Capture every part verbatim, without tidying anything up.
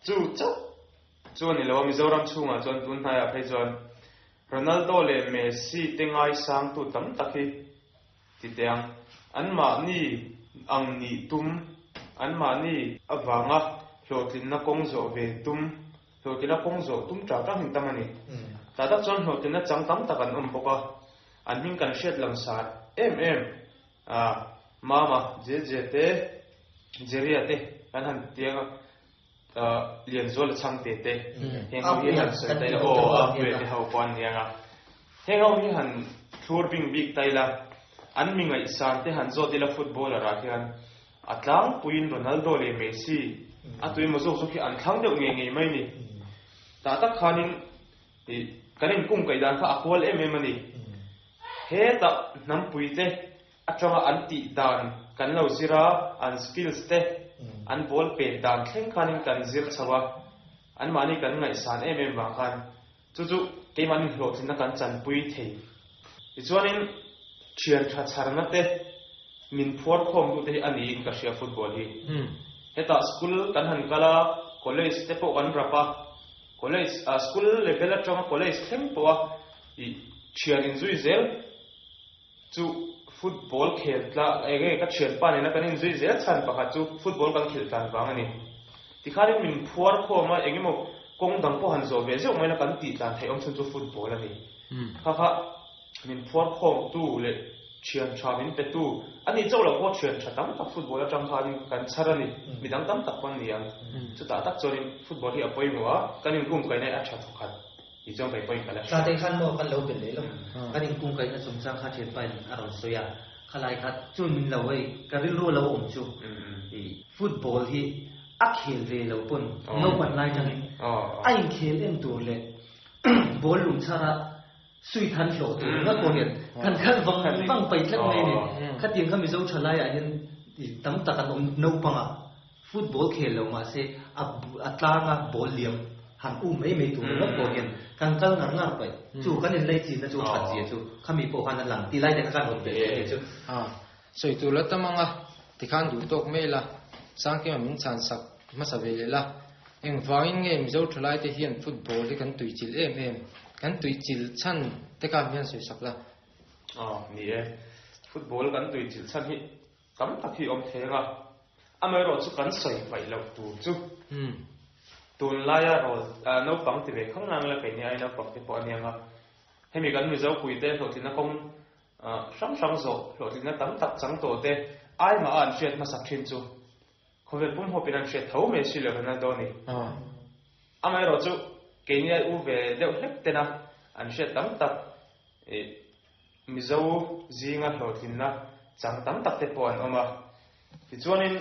Chu chauh chu ani lo a Mizoram chhungah chuan tun hnaiah phei chuan Ronaldo leh Messi te ngaisang tu tam tak hi ti teh ang. Anmahni ang nih tum, anmahni avanga hlawhtlinna kawng zawh ve tum, hlawhtlinna kawng zawh tum ṭah ṭah hin tam a ni. Tah tak chuan hlawhtlinna chang tam tak an awm bawk a, an hming kan hriat langsar em em a, Mama, Jeje te, Jeria te kan han tiang a, Lianzuala Chhangte te, heng ho hi han sawi ta ila, aw Apuia te ho pawh an niang a, heng ho hi han thlur bing bik ta ila, an mi ngaihsan te han zawt ila footballer ah hian a tlangpuiin Ronaldo leh Messi a tuimaw zawk zawk hi an thlang deuh ngei ngei mai ni. Tah tak khanin ih kan inkungkaih dan kha a kual em em a ni. Hetah hnampui te atanga an tih dan kan lo zir a, an skills te, an ball pet dan thleng khanin kan zir chho a, anmahni kan ngaihsan em em vang khan chu chu keimahni hlawhtlinna kan chanpui thei. Tichuanin thian tha chharna te, min phuar khawm duh te hi a niin ka hria football hi. Hetah school kan han kal a, college te pawh kan rap a, college ah school level atanga college thleng pawh a ih thian inzui zel chu football khel tla eng nge ka thianpa nena kan inzui zel chhan pakhat chu football kan khelh tlan vang a ni. Tikhanin min phuar khawm a eng emaw kawng dang pawh han zawh ve zeuh mai la kan tih tlan theih awm chhun chu football a ni. Kha kha min phuar khawm tu leh thian tha min pe tu a ni chauh lo pawh thian tha tam tak football atang khanin kan chhar a ni. Midang tam tak pawh an ni ang. Chutah tak chuanin football hi a pawimawh a, kan inkungkaihna hi a tha thawkhat tih chuan kei pawhin ka la hria. Tlatei khan maw kan lo belh leh lo. Kan inkungkaihna chungchang kha thianpain a rawn sawi a, khalai kha chuan min lo hei ka rilru a lo awm chu i football hi a khel ve lo pawn naupan lai tangin a inkhel en tur leh ball lung chhar a Sui than hlawh tur ringawt pawh hian kan kal vang vang pai tlat mai a ni. Khatiang kha Mizo thalaiah hian tam tak an awm naupang a, football khel lo mahse a a tlanga ball liam han um mai mai tur ringawt pawh hian kan kal ngar ngar pai. Chu kan inlei chinna chu that zia chu khami pawh khan a lang ti lai te kha kan rawn belh leh a ni chu. A sawi tur la tam ang a, tikhan duh tawk mai la, Sangkima min chhan sak hmasa ve leh la. Engvangin nge Mizo thalaite hian football hi kan tuichilh em em? Kan tuichilh chhan te kha hian sawi sak la. Aw, ni e. Football kan tuichilh chhan hi tam tak hi awm theng a. Amaherawh chu kan sawi hmaih loh tur chu tunlaia rawl naupang ti ve khang nang la keini ai naupang te pawh a nia nga. Hemi kan Mizo puite hlawhtlinna kawng hrang hrang zawh hlawhtlinna tam tak chang tawh te ai mah a an hriat hmasak thin chu Khawvel pum hawpin an hriat tho mai si lo Ronaldo ni. Amaherawh chu keini ai u ve deuh hlek tena an hriat tam tak ih Mizo zinga hlawhtlinna chang tam tak te pawh an awm a. Tichuanin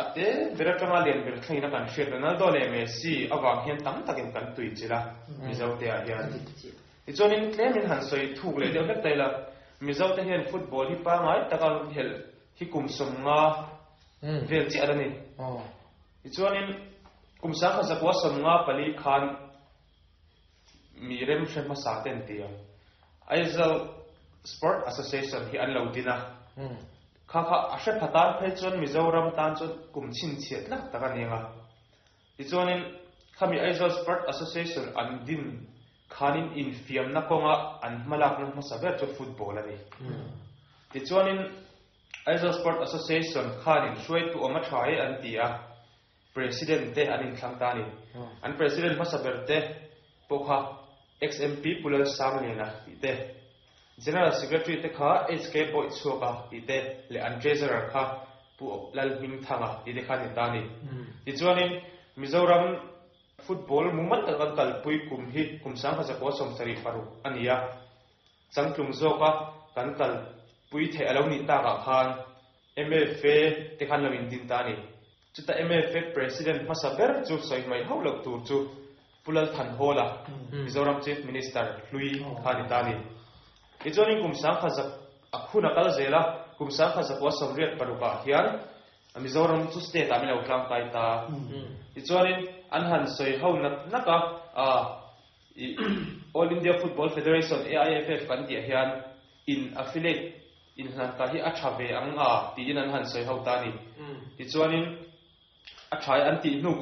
a te ber atanga lian ber thlengin a kan hriat Ronaldo leh Messi avang hian tam takin kan tuichilh a Mizo te ah hian. Tichuanin tlemin han sawi thuk leh deuh hlek ta ila Mizo te hian football hi pangngai taka helh hi kum sawmnga vel chiah a ni. Tichuanin kum sangkhat zakua sawmnga pali khan mi remhre hmasa te an ti a, Aizawl Sport Association hi an lo din a, kha kha a hre pha tan phei chuan Mizoram tan chuan kum chhinchhiah tlak tak a ni ang a. Tichuanin khami Aizawl Sport Association an din khanin infiamna kawnga an hmalakna hmasa ber chu football a ni. Tichuanin Aizawl Sport Association khanin hruaitu awm a tha e an ti a, President te an inthlang ta a ni. An President hmasa ber te pawh kha ex-MP Pu Lalsangliana tih te, General Secretary te kha HK Bawichhuaka tih te leh an Treasurer kha Pu Lalhmingthanga tih te kha an ni ta a ni. Tichuanin Mizoram Football mumal tak an kalpui kum hi kum sangkhat zakua sawmsarih paruk a ni a. Changtlung zawka kan kalpui theih a lo nih takah khan M F A te khan lo indin ta a ni. Chuta M F A President hmasa ber chu sawi hmaih hauh loh tur chu Pu Lalthanhawla, Mizoram Chief Minister hlui kha a ni ta a ni. Tichuanin kum sangkhat zak a khun a kal zel a, kum sangkhat zakua sawmriat parukah hian Mizoram chu state ah min lo tlangkai ta. Tichuanin an han sawi ho nak nak a, I All India Football Federation, A I F F, kan tih ah hian in affiliate inhlanka hi a tha ve ang a tiin an han sawi ho ta a ni. Tichuanin a tha e an tih hnu